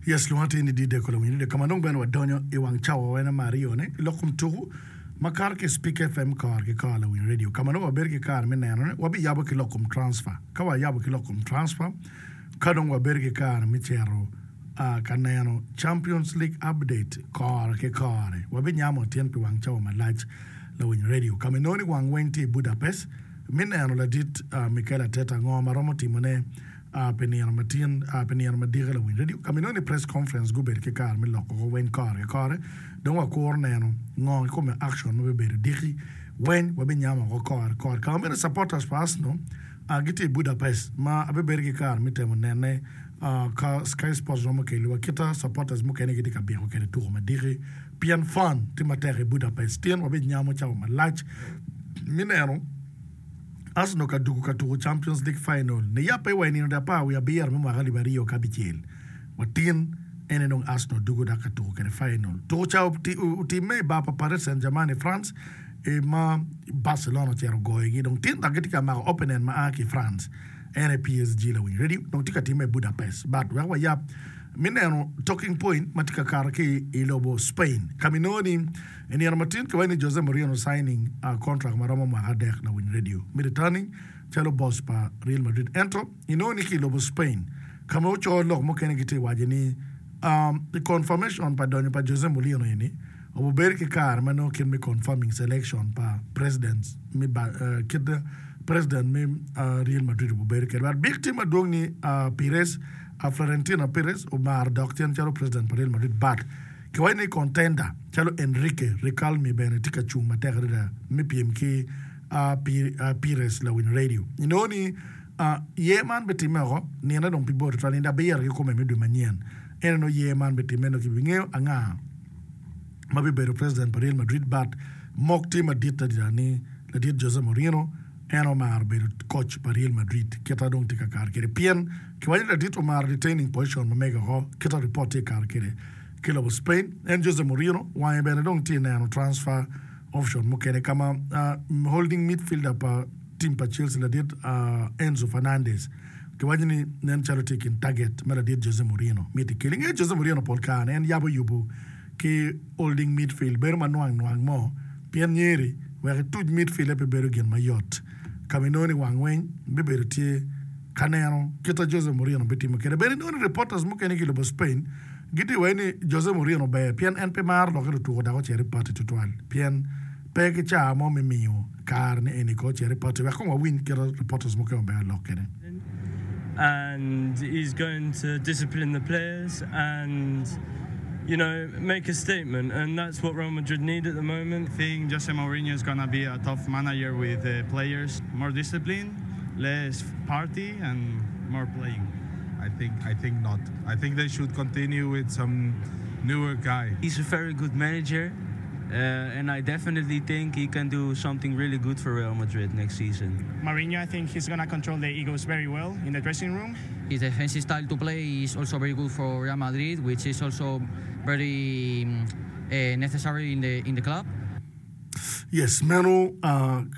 Yes, lwonga tye ni Dideko lawiny radio ka ma dong bene wadonyo i wang cawa wene me aryone i lok kom tuku ma kato ki i Spik FM kore ki kore lawiny radio ka ma nongo wabedo ki kare me nenone wabiyabo ki lok kom transfer. Ka wayabo ki lok kom transfer ka dong wabedo ki kare me cito ka neno Champions League update kore ki kore. Wabinyamo tyen pi wang cawa malac lawiny radio ka ma inongo ni wang weng tye i Budapest me neno ladit Mikel Arteta ngo ma romo timone pi nino matin pi nino madike lawiny radio ka ma inongo ni press conference gubedo ki kare me loko ko weng kore ki kore dong wakuro neno ngo kikome action ma bibedo diki weng wabinyamo woko kore ki kore ka ma meno supporters pa Arsenal gitye i Budapest ma abibedo ki kare me temo nene ka Sky Sports romo keliwa kita supporters mukene gitye ka biko kwede tuko madiki pien fun tye matek i Budapest tin wabinyamo cawa malac me neno Arsenal ka dugo ka tuko Champions League final niyabbe wa i nino apar wiye abiro me mwaka alip aryo ki abicel wa tin en aye dong Arsenal dugo dok ka tuko kwede final. Tuko ca otimme i bar pa Paris Saint-Germain i France ma Barcelona ocito ogoyogi dong tin dok gitye ka mako opponent ma a ki i France en aye PSG lawiny radio dong tye ka timme i Budapest but wek wayab me neno talking point ma tye ka kato ki i lobo Spain ka ma inongo ni I nino matin kiwaco ni Jose Mourinho signing contract ma romo mwaka adek lawiny radio me returning calo boss pa Real Madrid. Ento inongo ni ki i lobo Spain ka ma oco lok mukene gitye waco ni i confirmation pa donyo pa Jose Mourinho eni obedo ki kare ma nongo kit me confirming selection pa president me kit president me Real Madrid obedo kwede. But big tye madwong ni Perez Florentino Perez omaro dok cen calo president pa Real Madrid but Kiwaco ni kontenda calo Enrique Riquelme bene tye ka cung matek adada me pyem ki Pires lawiny redio. Inongo ni yer man bitimme oko nine dong pi bor tutwal nino abiro kikome me dwe manyen. Ento nongo yer man bitimme nongo kibingeyo anga ma bibedo president pa Real Madrid but mok tye madit adada ni ladit Jose Mourinho en omaro bedo coach pa Real Madrid kita dong tye ka kare kwede pien kiwaco ni ladit omaro retaining position ma mege oko kita report tye ka kare kwede ki lobo Spain. En Jose Mourinho wange bene dong tye neno transfer option mukene ka ma holding midfielder pa team pa Chelsea ladit Enzo Fernandez kiwaco ni nen calo tye i kin target ma ladit Jose Mourinho miti kel. Inge Jose Mourinho pol kare en yabo yubo ki holding midfield bedo ma nwang nwang mo pien nyeri wek ituc midfield-e pe bedo gin mayot ka ma inongo ni wang weng bibedo tye ka neno kit a Jose Mourinho bitimo kwede. Bene inongo ni reporters mukene ki i lobo Spain gitye waci ni Jose Mourinho ber pien en pe maro lokke lutuko dok ocito i party tutwal pien pe ki caa mo me miyo kare ni eni ko ocito i party wek kong wawiny kit a reporters mukene obedo lok kwede. and he's going to discipline the players and you know make a statement and that's what Real Madrid need at the moment. I think Jose Mourinho is gonna be a tough manager with the players, more discipline, less party and more playing. I think I think not. I think they should continue with some newer guy. He's a very good manager and I definitely think he can do something really good for Real Madrid next season. Mourinho I think he's gonna control the egos very well in the dressing room. His defensive style to play is also very good for Real Madrid which is also very necessary in the in the club. Yes meno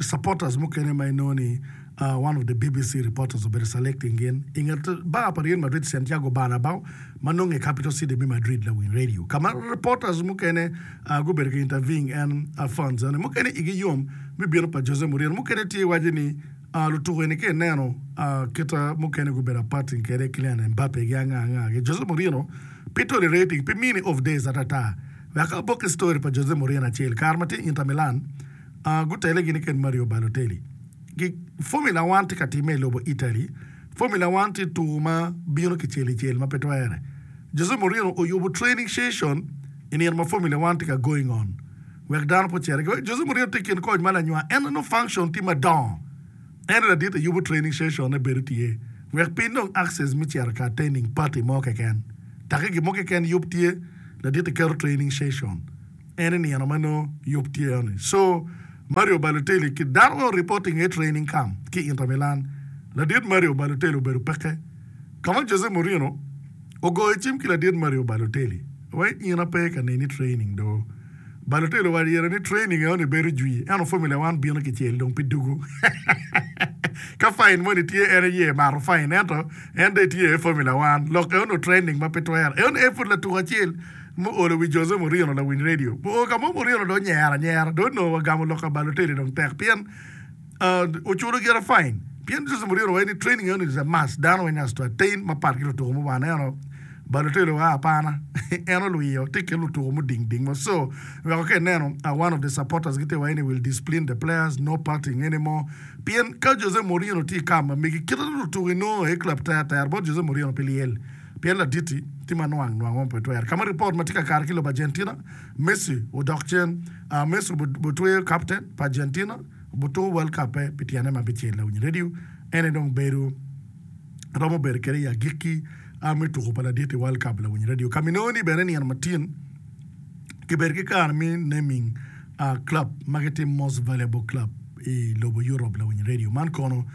supporters mukene ma inongo ni one of the BBC reporters obedo selecting gin i nget bar pa Real Madrid Santiago Bernabeu ma nonge i capital city me Madrid lawiny radio ka ma reporters mukene gubedo ka interviewing en fans ene mukene igi yom me bino pa Jose Mourinho mukene tye waco ni lutuku eni ka ineno kita mukene gubedo aparting kede Kylian Mbappe gi anga anga gi Jose Mourinho pe tolerating pe mini off days atata Wek abok ki story pa Jose Mourinho acel. Kare ma tye i Inter Milan, gutele gini ked Mario Balotelli. Gi Formula One tye ka timme i lobo Italy. Formula One tye tuku ma bino kicel icel ma pe twere. Jose Mourinho oyubo training session i nino ma Formula One tye ka going on wek dano pe ocit. Jose Mourinho tye i kin koc ma lanywa en nongo function tye madongo. Ento ladit ayubo training session ne bedo tye wek pe inong access me cito ka attending party mo keken. Take gin mo keken yub tye ladit iketo training session en i nino ma nongo yub tye eno-ni. So Mario Balotelli ki dano ma reporting iye training camp ki Inter Milan ladit Mario Balotelli obedo peke ka ma Jose Mourinho ogoyo cim ki ladit Mario Balotelli wai in ape ka neni training do. Balotelli owaco ire ni training eno ni bedo jwi ento Formula One bino kicel dong pi dugu. Ka fine moni tye en aye mato fine ento en dong etye i Formula One. Lok eno ni training ma pe twere. Eno ni en pud latuko acel muolo wi Jose Mourinho lawiny radio. Oo ka mo Mourinho dong onyero anyera dong onongo wagamo lok ka Balotelli dong tek pien oculo gire fine pien Jose Mourinho owaco ni training eno ni is a must dano weng has to attain mapat ki lutuko muwano ento Balotelli oa apana en olwiyo tye ki lutuko muding ding mo so weko ka ineno one of the supporters gitye waco ni will discipline the players no partying anymore pien ka Jose Mourinho tye i kam ma megi kite lutuko inongo i club ter ter bot Jose Mourinho pi lyel pien laditi tye ma nwang nwang mo pe twere ka ma report ma tye ka kare ki lobo Argentina Messi odok cen Messi obotweyo captain pa Argentina obutuko World Cup pe pi tyene ma bicel lawiny radio en aye dong bedo romo bedo kwede i agikki me tuko pa ladit i World Cup lawiny radio ka minongo ni bene nino matin kibedo ki kare me naming club ma gitye most valuable club i lobo Europe lawiny radio man kono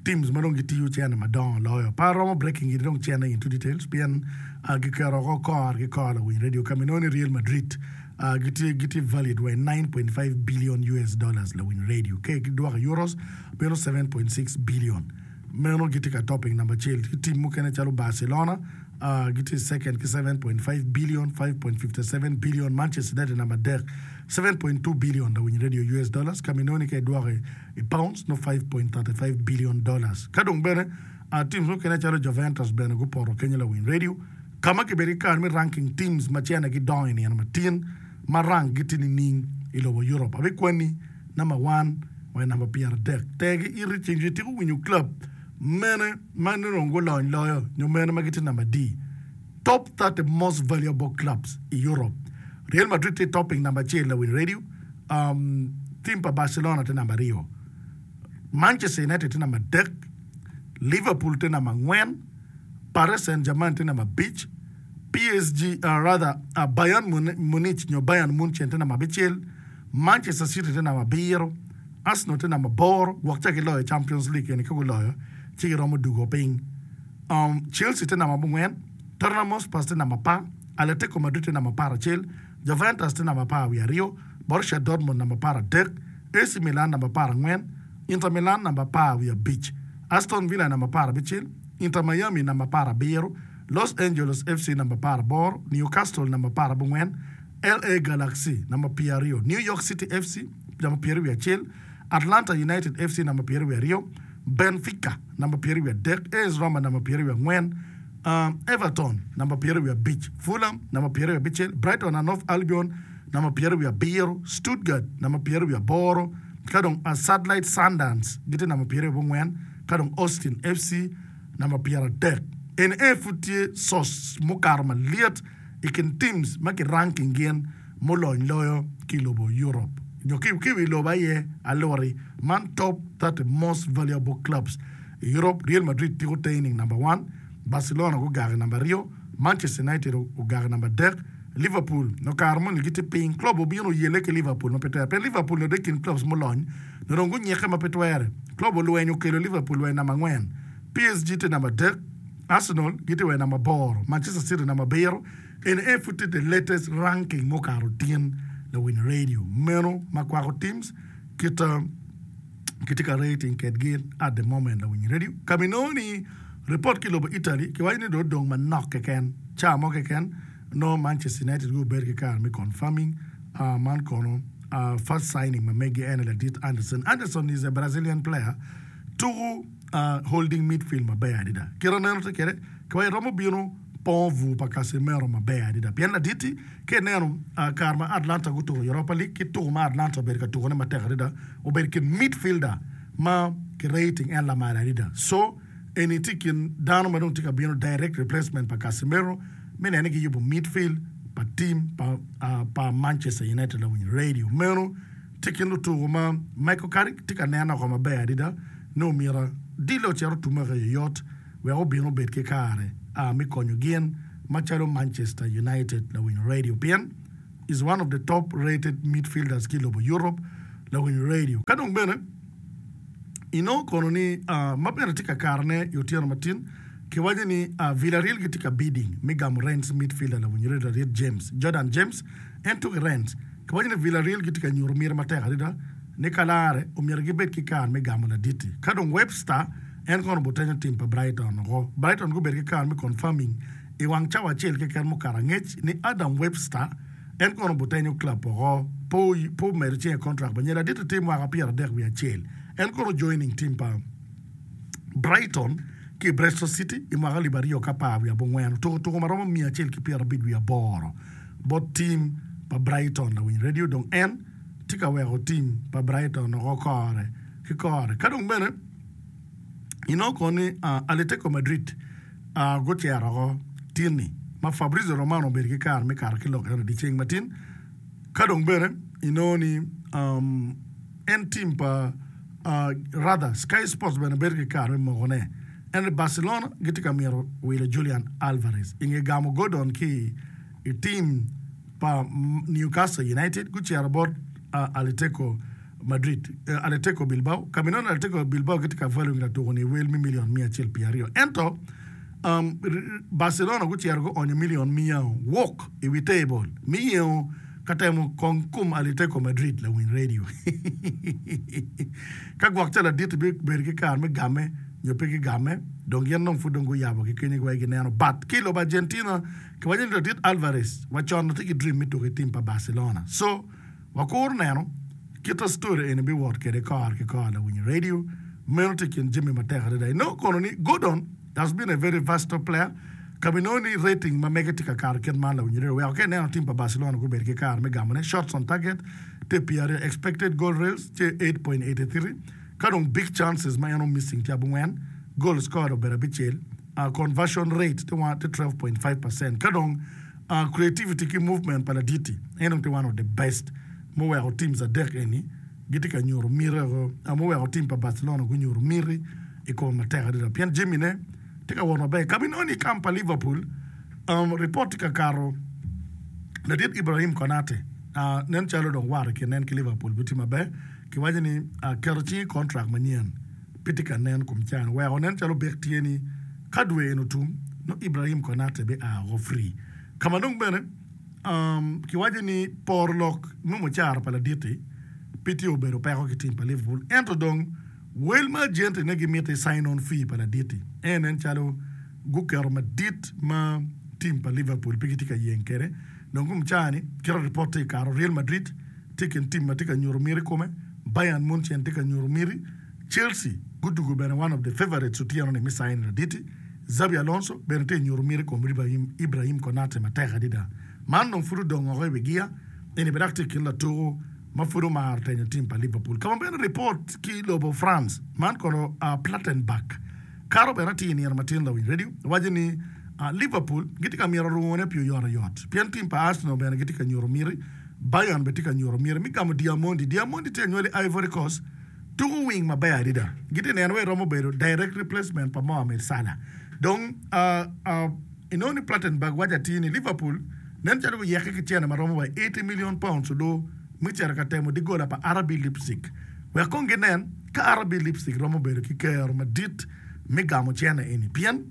teams ma dong gitiyo cene madongo loyo pe aromo breaking it dong cene into details pien giketo oko kor ki kor lawiny radio ka minongo ni Real Madrid Gitye gitye valued wa i 9.5 billion US dollars lawiny radio ka gidwoko i euros meno 7.6 billion. Meno gitye ka topping namba acel. Ki tim mukene calo Barcelona gitye i second ki 7.5 billion, 5.57 billion, Manchester United namba adek 7.2 billion lawiny radio US dollars ka minongo ni ka idwoko i pounds nongo 5.35 billion dollars. Ka dong bene teams mukene calo Juventus bene gupoto kenyo lawiny radio. Ka ma kibedo ki kare me ranking teams ma cene gidongo i nino matin ma rank gi tye nining i lobo Europe? Abikwanni namba one wa i namba 30. Ter ki iti ceng jwi itiko winyo club mene ma nongo gulony loyo nyo mene ma gitye namba adi? Top 30 most valuable clubs i Europe. Real Madrid tye topping namba acel lawiny radio. Um, team pa Barcelona tye namba aryo. Manchester United tye namba adek. Liverpool tye namba angwen. Paris Saint-Germain tye namba abic, PSG, rather, Bayern Munich nyo Bayern Munchen tye namba abicel, Manchester City tye namba abiro, Arsenal tye namba aboro, gwok ca giloyo Champions League eni ka guloyo ci giromo dugo piny. Um, Chelsea tye namba abongwen, Tottenham Hotspurs tye namba apar, Atletico Madrid tye namba aparacel, Juventus tye namba apar wiye aryo, Borussia Dortmund namba aparadek, AC Milan namba aparangwen, Inter Milan namba apar wiye abic, Aston Villa namba apar abicel, Inter Miami namba apar abiro, Los Angeles FC namba apar aboro, Newcastle namba apar abongwen, LA Galaxy namba pyeraryo, New York City FC namba pyeraryo wiye acel, Atlanta United FC namba pyeraryo wiye aryo, Benfica namba pyeraryo wiye adek, AS Roma namba pyeraryo wiye angwen, Everton namba pyeraryo wiye abic, Fulham namba pyeraryo wiye abicel, Brighton and Hove Albion namba pyeraryo wiye abiro, Stuttgart namba pyeraryo wiye aboro, ka dong Satellite Sundance gitye namba pyeraryo abongwen, ka dong Austin FC namba 30. Eni aye pud tye source mukato malyet i kin teams ma ki ranking gin mulony loyo ki i lobo Europe nyo ki i wi lobo aye aluti man top 30 most valuable clubs i Europe. Real Madrid tiko taining namba one, Barcelona gugako i namba aryo, Manchester United ogako i namba adek, Liverpool nyo kare moni gitye piny. Club obino oyelle ki Liverpool ma pe twere pien Liverpool nyo dong i kin clubs mulony nyo dong gunyikke ma pe twere. Club olweny okelo Liverpool wa i namba angwen, PSG tye namba adek, Arsenal gitye wa i namba aboro, Manchester City namba abiro. Eni aye pud tye the latest ranking mukato tin lawiny radio meno ma kwako teams kit kitye ka rating kedgi at the moment lawiny radio. Ka ma inongo ni report ki i lobo Italy kiwaco ni dong odong manok keken ca mo keken nongo Manchester United gubedo ki kare me confirming man kono first signing ma megi en aye ladit Anderson. Anderson is a Brazilian player tuku holding midfield maber adada kit aneno tye kwede kiwaco romo bino pongo bur pa Casemiro maber adada pien ladit-ti ka ineno kare ma Atlanta gutuko Europa League ki tuko ma Atlanta obedo ka tukone matek adada obedo i kin midfielder ma ki rating en lamal adada so eni tye i kin dano ma dong tye ka bino direct replacement pa Casemiro me neno ni giyubo midfield pa team pa Manchester United lawiny radio meno tye i kin lutuko ma Michael Carrick tye ka neno oko maber adada ni omyero dilo ocit otume ki oyot wek obin obed ki kare me konyo gin macalo Manchester United lawiny radio pien is one of the top rated midfielders ki i lobo Europe lawiny radio ka dong bene inongo kono ni ma bene tye ka karene i otyeno matin kiwaco ni Villarreal gitye ka bidding me gamo Rennes midfielder lawiny radio James Jordan James en tuko i Rennes. Kiwaco ni Villarreal gitye ka nyuto miti matek adada ni ka larre omyero gibed ki kare me gamo ladit-ti. Ka dong Webster en kono obutenyo tim pa Brighton woko. Brighton gubedo ki kare me confirming i wang cawa acel keken mukato angec ni Adam Webster en kono obutenyo club woko pe omedo cinge i contract manyen. Ladit-ti tye mwaka 31 en kono ojoining tim pa Brighton ki i Bristol City i mwaka alip 2014. Otuko tuko ma romo 158 bot tim pa Brighton lawiny redio dong en tye ka weko tim pa Brighton oko kore ki kore. Ka dong bene inongo kono ni Atletico Madrid gucito oko tin-ni ma Fabrizio Romano obedo ki kare me kato ki lok eno dyeceng matin. Ka dong bene inongo ni en tim pa rather Sky Sports bene bedo ki kare me mokone en ni Barcelona gitye ka mito wilo Julian Alvarez i nge gamo Gordon ki i tim pa Newcastle United gucito bot Atletico Madrid Atletico Bilbao ka ma inongo ni Atletico Bilbao gitye ka valuing latuko-ni i wel me milion 120 ento Barcelona gucito guonyo milion miya wok i wi tebol me yengo ka temo kong kom Atletico Madrid lawiny radio. Ka gwok ca ladit-ti bibedo ki kare me gamme nyo pe gigamme, dong gin dong pud dong guyabo ki kenyo wek gineno. But ki i lobo Argentina, kiwaco ni ladit Alvarez wacon tye ki dream me tuko i tim pa Barcelona. So, wakuro neno kit ma story eni biwot kwede kore ki kore lawiny radio. Meno tye i kin jami matek adada. Inongo kono ni Gordon has been a very versatile player ka ma inongo ni rating ma mege tye ka kato kit man lawiny radio weko ka ineno tim pa Barcelona gubedo ki kare me gamone shots on target tye pyeraryo expected goal rails tye 8.83 ka dong big chances ma en o missing tye abongwen goal scored obedo abicel conversion rate tye 12.5% ka dong creativity ki movement pa ladit-ti en dong tye one of the best muweko teams adek eni gitye ka nyuto miti muweko tim pa Barcelona gunyuto miti i kome matek adada pien jamine tye ka wot maber. Ka ma inongo ni i kamp pa Liverpool, ripot tye ka kato ladit Ibrahim Konate nen calo dong wat i kin en ki Liverpool pe tye maber. Kiwaco ni keto cing i kontrak manyen pe tye ka nen kom can weko nen calo bek tye ni ka dwe eni otum nongo Ibrahim Konate bia woko free. Ka ma dong bene Kiwaco ni poro lok me mucara pa ladit-ti pe tye obedo peko ki tim pa Liverpool ento dong wel ma ajentine gimito i sign-on fee pa ladit-ti en nen calo guketo madit ma tim pa Liverpool pe gitye ka yeng kwede. Dong kom caa-ni kit ripot tye ka kato Real Madrid tye i kin tim ma tye ka nyuto miti i kome, Bayern Munchen tye ka nyuto miti. Chelsea gudugo bene one of the favourites otyeno-ni me sign ladit-ti, Xabi Alonso bene tye ka nyuto miti i kom Ibrahim Konate matek adada. Man dong pud odong woko i wi giya, eni bene dok tye i kin latuku ma pud omaro tenyo tim pa Liverpool. Ka ma bene ripot ki i lobo France, man kono Plattenberg kato bene atir i nino matin lawiny radio waco ni Liverpool gitye ka mito rwone pi oyotoyot pien tim pa Arsenal bene gitye ka nyuto miti, Bayern bene tye ka nyuto miti me gamo Diamondi. Diamondi tye anywali Ivory Coast. Tuko wing maber adada. Gitye neno wai romo bedo direct replacement pa Mohamed Salah. Dong inongo ni Plattenberg waco atir ni Liverpool nen calo guyeke ki cene ma romo wa £80 million odo me cito ka temo digola pa RB Leipzig. Wek kong ginen ka RB Leipzig romo bedo ki kero madit me gamo cene eni pien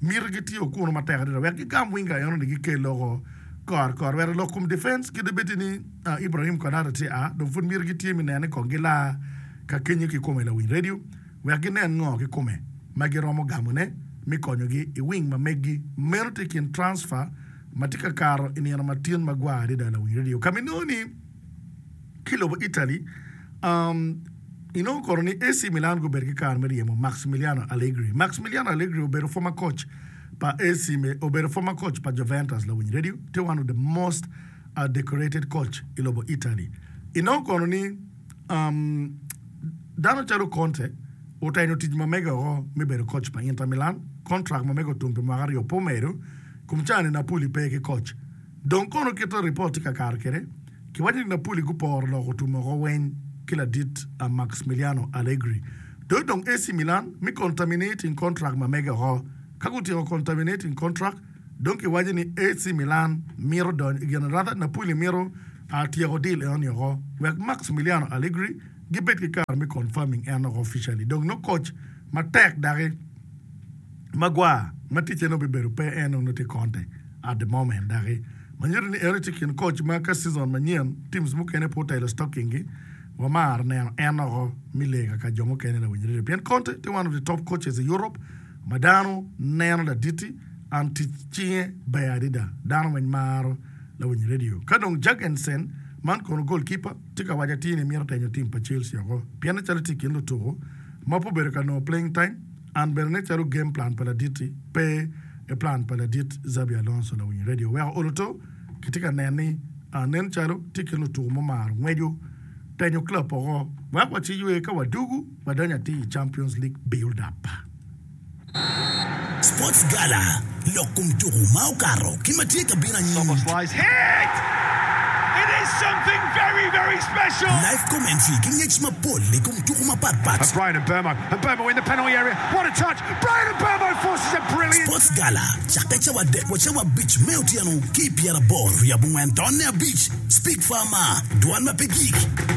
mitigi tye okunu matek adada wek gigam winga enoni gikel loko kor kor wek lok kom defense kadi bed ni Ibrahim Konate tye a dong pud myero gitye me nene kong gilaa ka kenyo kikome lawiny radio wek ginen ngo kikome ma giromo gamone me konyogi i wing ma meggi. Meno tye kin transfer ma tye ka kato i nino matin magwar adada lawiny radio ka ma inongo ni ki lobo Italy inongo kono ni AC Milan gubedo ki kare me ryemo Maximiliano Allegri. Maximiliano Allegri obedo former coach pa AC obedo former coach pa Juventus lawiny radio tye one of the most a decorated coach i lobo Italy. Inongo kono ni dano calo Conte otenyo tic ma mege oko me bedo coach pa Inter Milan, contract ma mege otum pi mwaka aryo pe omedo, kom caa-ni Napoli pe ki coach. Dong kono kit ma ripot tye ka kato kwede, kiwaco ni Napoli guporo lok otum oko weng ki ladit Maximiliano Allegri. Dong dong AC Milan me contaminating contract ma mege oko. Ka gutyeko contaminating contract, Dong kiwaco ni AC Milan mito donyo i gin rather Napoli mito tyeko deal enoni oko wek Maximiliano Allegri gibed ki kare me confirming en oko officially. Dong nongo coach matek daki magwar ma ticce nongo bibedo pe en nongo tye Conte at the moment daki. Ma nyuto ni eno tye i kin koc ma ka season manyen teams mukene pe otelo stocking gi wamaro neno en oko me lega ka jo mukene lawiny radio pien Conte tye one of the top coaches i Europe ma dano neno laditi and tic cinge ber adada dano weng maro lawiny radio. Ka dong Jurgensen man kono goalkeeper tye ka waco atir ni mito tenyo team pa Chelsea oko pien nen calo tye i kin lutuku ma pe obedo ka nongo playing time and bene nen calo game plan pa ladit-ti pe i plan pa ladit Xabi Alonso lawiny radio weko olo to kitye ka neno ni nen calo tye i kin lutuku mumaro ngweco tenyo club oko wek waciywe ka wadugu wadonyo atir i Champions League build up. Sports Gala, Lok kom tuku ma okato ki ma tye ka bino anyim. Live commentary ki ngec mapol i kom tuku mapat pat. Sports Gala cakke cawa adek wa cawa abic me otyeno ki i pyeraboro wiye abongwen tonne abic. Speak Farmer, Dwan ma pe gik.